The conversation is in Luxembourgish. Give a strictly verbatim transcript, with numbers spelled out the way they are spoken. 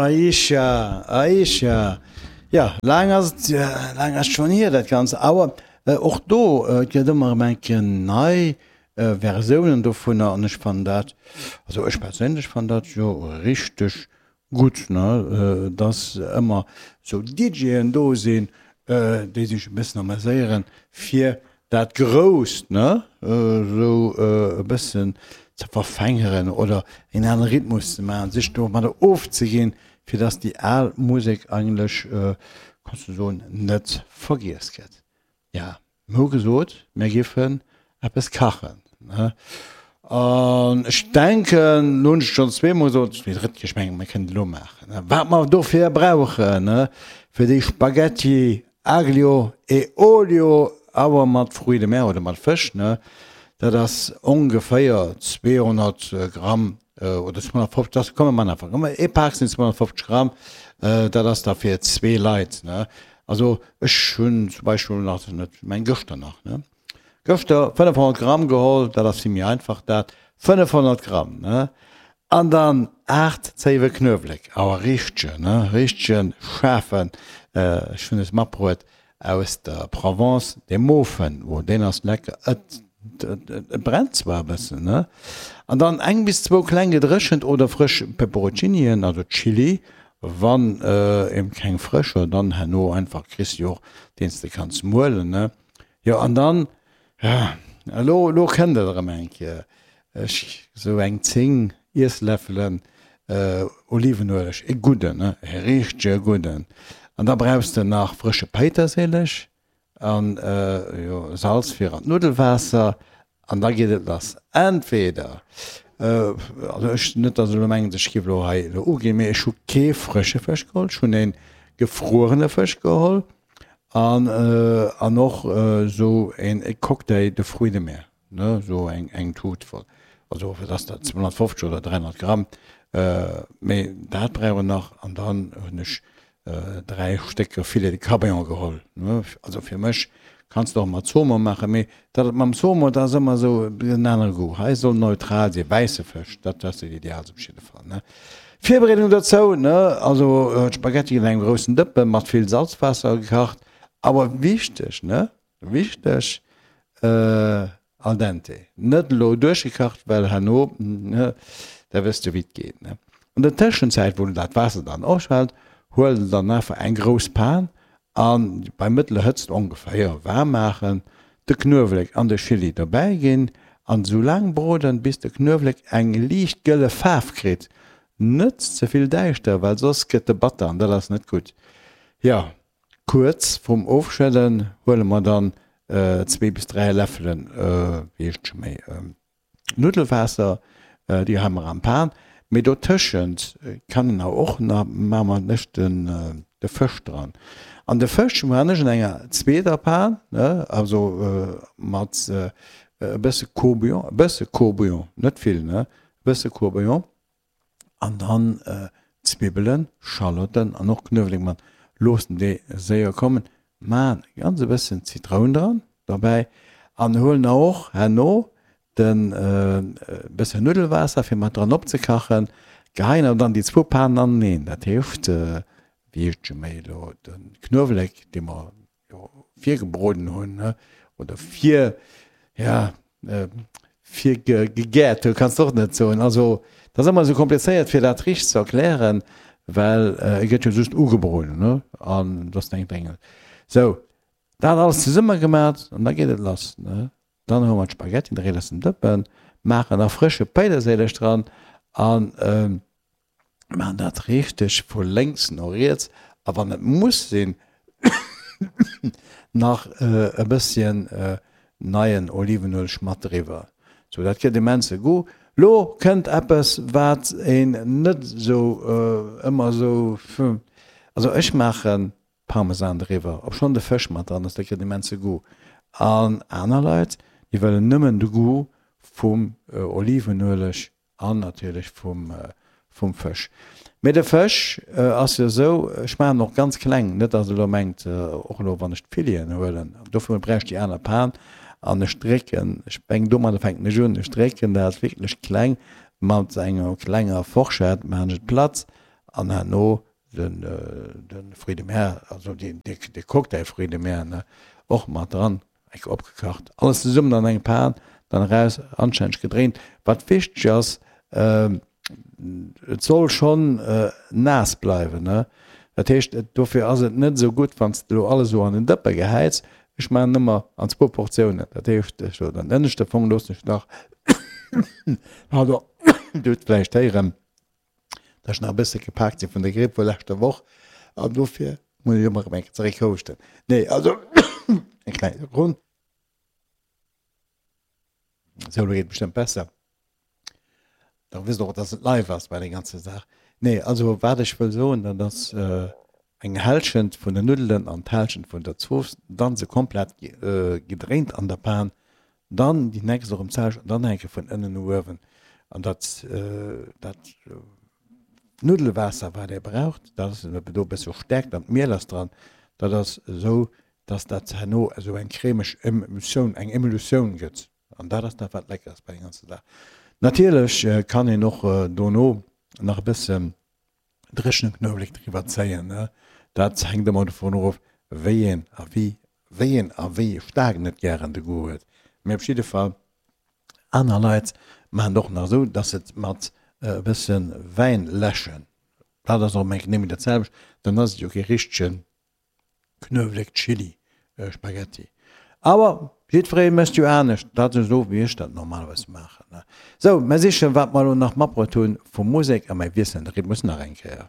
Aisha, Aisha. Jo, laang ass et, laang ass et schonn hier dat Ganzt. Awer och do, et gëtt ëmmer erëm eng Kéier nei Versiounen dovunner an ech fannen dat, also ech perséinlech fannen dat jo richteg gutt, ne, dass ëmmer sou DJen do sinn, déi sech e bëssen ameséieren, fir dat Grousst, ne, esou e bëssen ze verfängeren oder en anere Rhythmus ze maachen, sech domadder ofzeginn, fir dass déi al Musek eigentlech, kanns du soen, net vergiess gëtt. Ja, mir hu gesot, mir giffen eppes kachen, ne? An ech denken, lo hunn ech et schonn zweemol gesot, déi drëtt Kéier, ech mengen, mir kënnen et elo maachen, ne? Wat mer dofir brauchen, ne, fir déi Spaghetti aglio e olio, awer mat Fruits de mer oder mat Fësch, ne, dat ass ongeféier zweehonnert Gramm oder zweehonnertfofzeg, dat komm mir man einfach, komm ee Pak sinn zweehonnertfofzeg Gramm, dat ass da fir zwee Leit, ne. Also ech hunn zum Beispill nach net, meng gëschter nach, ne, gëschter fënnefhonnert Gramm geholl, dat ass vill méi einfach dat, fënnefhonnert Gramm, ne, an dann aacht Zéiwe Knuewelek, awer richtegen, ne, richtegen schaarfen, ech hunn es matbruet aus der Provence, dee Mofen, oh deen ass lecker, et et brennt zwar e bëssen, ne, an dann eng bis zwou kleng gedréchent oder frësch Peperonchinien, also Chili, wann een keng frësch huet, dann herno einfach kriss de jo och deen s de kanns muelen, ne. Jo an dann, ja, elo elo kënnt et erëm eng Kéier, ech sou eng zéng Iessläffelen Olivenueleg, e gudden, ne, e richtege gudden, an da brauchs de nach frësche Péiterséileg an jo Salz fir an d'Nuddelwaasser an da geet et lass. Entweder, also ech, net datt elo mengt ech giff elo hei elo uginn, mee ech hu kee frësche Fësch geholl, ech hunn ee gefruerene Fësch geholl an an och esou een Cocktail de fruits de mer, ne, esou eng eng Tut voll, also wat ass dat, zweehonnertfofzeg oder dräihonnert Gramm, mee dat brauch een nach an dann hunn ech dräi Stécker Filet de Cabillaud geholl. Also fir mech kanns de och mat Saumon maachen, mee dat mam Saumon, dat ass ëmmer esou en anere Goût. Hei soll neutral sinn, wäisse Fësch, dat ass dat Ideaalst op jidde Fall, ne. Virbereedung dozou, ne, also d'Spaghetti ginn an engem groussen Dëppe mat vill Salzwaasser gekacht, awer wichteg, ne, wichteg, Al dente, net elo duerchgekacht, well herno, da wëss de wéi et geet, ne. An der Tëschenzäit, wou dat Waasser dann ofschwellt, huel de dann einfach eng grouss Pan an bei mëttler Hëtzt ongeféier waarm maachen, de Knuewelek an de Chili dobäi ginn an esou laang broden, bis de Knuewelek eng liicht gëlle Faarf kritt, net ze vill däischter, well soss gëtt e batter an dat ass net gutt. Jo, kuerz vrum Ofschëdden huele mer dann zwee bis dräi Läffelen, wéi heescht et scho méi, Nuddelwaasser, déi hu mer am Pan. Mee dotëschent kann een awer och nach, maache mer lech den de Fësch dran. An de Fësch maachen ech an enger zweeter Pan, ne, also mat e bësse Court-bouillon, e bësse Court-bouillon, net vill, ne, e bësse Court-bouillon an dann Zwibbelen, Schalotten an och Knuewelek mat. Loossen déi séier kommen, maan ganz e bëssen Zitroun dran dobäi an huelen och herno den bëssen Nuddelwaasser fir mat dran opzekachen, geheien awer dann déi zwou Panen aneneen, dat heescht wéi heescht scho méi elo de Knuewelek dee mer jo virgebroden hunn oder vir ja virgegäert hunn, kanns de och net soen, also dat ass ëmmer esou komplizéiert fir dat richteg ze erklären, well e gëtt jo just ugebroden ne an et ass eng Dréngel. Sou dat alles zesumme gemat an da geet et lass ne. Dann hu mer d'Spaghetti dréi aus dem Dëppen, maachen nach frësche Péiterséileg dran an maachen dat richteg vu lénks no riets a wann et muss sinn nach e bësschen neien Olivenueleg mat driwwer. Sou, dat gëtt immense Goût. Lo kënnt eppes wat een net sou ëmmer sou, also ech maachen Parmesan driwwer, obschonn de Fësch mat dran ass, dat gëtt immense Goût. An aner Leit, déi wëllen nëmmen de Goût vum Olivenueleg an natierlech vum vum Fësch. Mee de Fësch ass jo esou, ech maachen en och ganz kleng, net datt der elo mengt, och elo wann ech d'Fileten huelen, dofir brauch ech déi aner Pan, an ech drécken, ech mengen domadder fänken ech un, ech drécken dat wierklech kleng mat enger klenger Forschett maachen ech et platt An herno den, den Fruits de mer, also de, de, de Cocktail Fruits de mer, ne, och mat dran, enk opgekacht. Alles zesummen an eng Pan, dann eraus, anstänneg gedréint. Wat wichteg ass, et soll schonn naass bleiwen, ne. Dat heescht, dofir ass et net esou gutt, wann s de elo alles esou an en Dëppe gehäits. Ech maachen ëmmer an zwou Portiounen. Dat heescht, ech elo den ënneschte Fong loossen ech nach, pardon, Dir hutt vläicht héieren, dass ech nach e bësse gepaakt si vun der Gripp vu leschter Woch an dofir muss ech ëmmer erëm eng Kéier zeréck houschten. Nee, also eng kleng Sekonn. Sou, elo geet et bestëmmt besser. Da wësst Der och, dass et live ass bei der ganzer Saach. Nee, also wat ech wëll soen, dat ass eng Hälschent vun den Nuddelen an d'Hälschent vun der Zooss, dann se komplett gedréint an der Pan, dann déi nächst erëm d'selwecht an dann eng Kéier vun ënnen no uewen. An dat dat Nuddelwaasser wat ee braucht, dat ass do e bësse Stäerkt an d'Miel ass dran, dat ass esou, dass dat herno esou eng cremeg Emulsioun, eng Emulsioun gëtt. An dat ass dat, wat lecker ass bei der ganzer Saach. Natierlech kann een och dono nach e bëssen dréchene Knuewelek driwwer zéien. Dat hänkt ëmmer dovun of, wéi een a wéi wéi een a wéi staark en et gären de Goût huet. Mee op jidde Fall, aner Leit maachen et och nach esou, dass se et mat e bësse Wäin läschen. Dat ass och eng Kéier némmen dat selwecht, dann ass et jo kee richtegen Knuewelek Chili Spaghetti. Awer jiddweree mécht jo anescht, dat ass esou wéi ech dat normalerweis maachen. Sou, mer sichen wat mer elo nach matbruet hunn vu Musek a mer wiesselen de Rhythmus nach eng Kéier.